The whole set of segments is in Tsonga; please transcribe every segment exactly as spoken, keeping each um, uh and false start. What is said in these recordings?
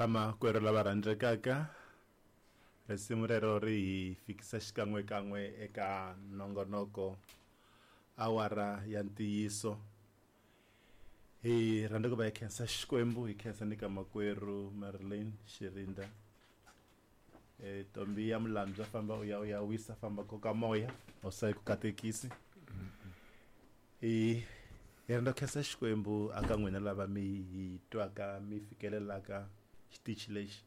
Vamakwerhu lava rhandzekaka, risimu rero ri hi fikisa xikan'wekan'we eka nongonoko awara ya ntiyiso. Hi rhandza ku va hi khensa Xikwembu, hi khensa ni ka makwerhu Marilyn Xirinda. E Tombi ya Mulambya, famba u ya u ya wisa, famba koka moya, hosi yi ku katekisi. Hi hi rhandza ku khensa Xikwembu aka n'wina lava mi hi twaka mi fikelelaka xitichi lexi,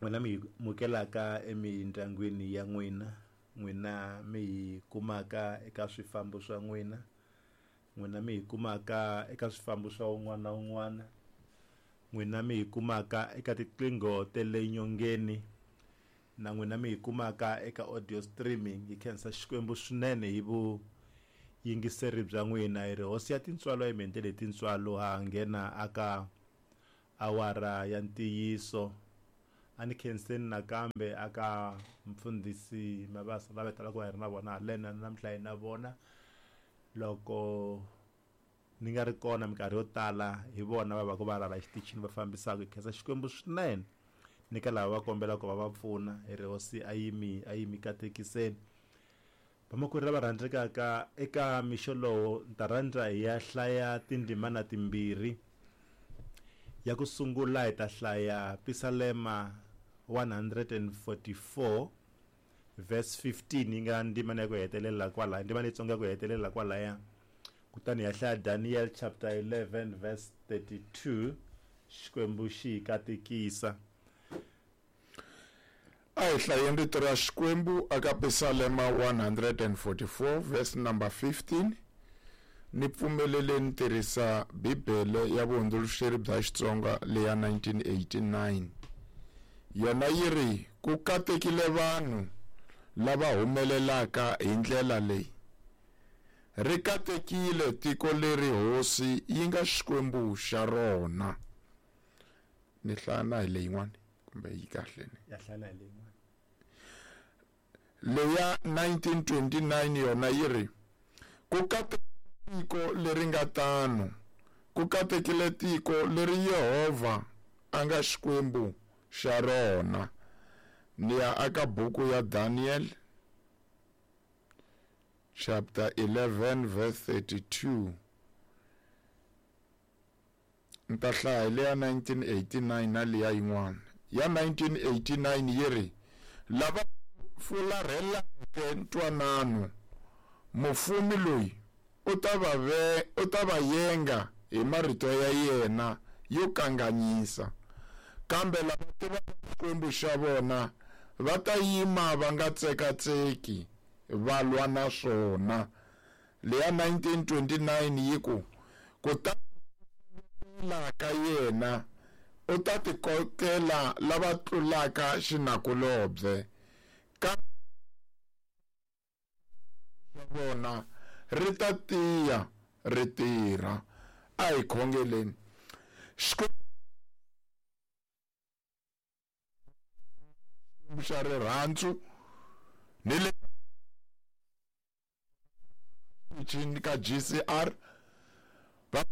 n'wina mi mukelaka emindyangwini ya n'wina, n'wina mi hi kumaka eka swifambo swa n'wina, n'wina mi hi kumaka eka swifambo swa un'wana na un'wana, n'wina mi hi kumaka eka tiqingho ta le nyongeni, na n'wina mi hi kumaka eka audio streaming. Hi khensa Xikwembu swinene hi vuyingiseri bya n'wina. Hi ri hosi ya tintswalo, hi mi endlele tintswalo, ha nghena aka awara ya ntiyiso. A ni khenseni nakambe aka mfundhisi Mabasa lava talaka va hi ri na vona halena namuntlha hi na vona. Loko ni nga ri kona minkarhi yo tala hi vona va va ku va rhala exitichini va fambisaka. Hi khensa Xikwembu swinene ni ka lava va kombelaka ku va va pfuna. Hi ri hosi a yi mi a yi mi katekiseni. Vamakwerhu lava rhandzekaka, eka mixo lowu ni ta rhandza hi ya hlaya tindzimana timbirhi. Ya ku sungula hi ta hlaya Pisalema one hundred forty-four verse fifteen, yi nga ndzimana ya ku hetelela kwalaya, ndzimana leyitsongo ya ku hetelela kwalaya. Kutani hi ya hlaya Daniel chapter eleven verse thirty-two. Xikwembu xi hi katekisa. A hi hlayeni rito ra Xikwembu aka Pisalema one hundred forty-four verse number fifteen. Ni pfumeleleni tirhisa Bibele ya vuhundzuluxeri bya Xitsonga leya nineteen eighty-nine. Yona yi ri, ku katekile vanhu lava humelelaka hi ndlela leyi. Ri katekile tiko leri hosi yi nga Xikwembu xa rona. Ni hlaya na hi leyin'wana kumbe yi kahle ni? Ya hlaya na hi leyin'wana. Leya nineteen twenty-nine yona yi ri, ku katekile tiko leri nga tano, ku katekile tiko leri Yehovha a nga Xikwembu xa rona. Ni ya aka buku ya Daniel chapter eleven verse thirty-two. Ni ta hlaya leya nineteen eighty-nine na leya yin'wana. Ya nineteen eighty-nine yi ri, lava fularheleke ntwanano, mufumi loyi u ta va ve, u ta va yenga hi marito ya yena yo kanganyisa, kambe lava tivaka Xikwembu xa vona va ta yima va nga tsekatseki va lwa na swona. Leya nineteen twenty-nine yi ku, kutani ka yena u ta tikokela lava tlulaka xinakulobye, kambe vona ri ta tiya ri tirha. A hi khongeleni. Xikwembu xa rirhandzu ni le ka G C R va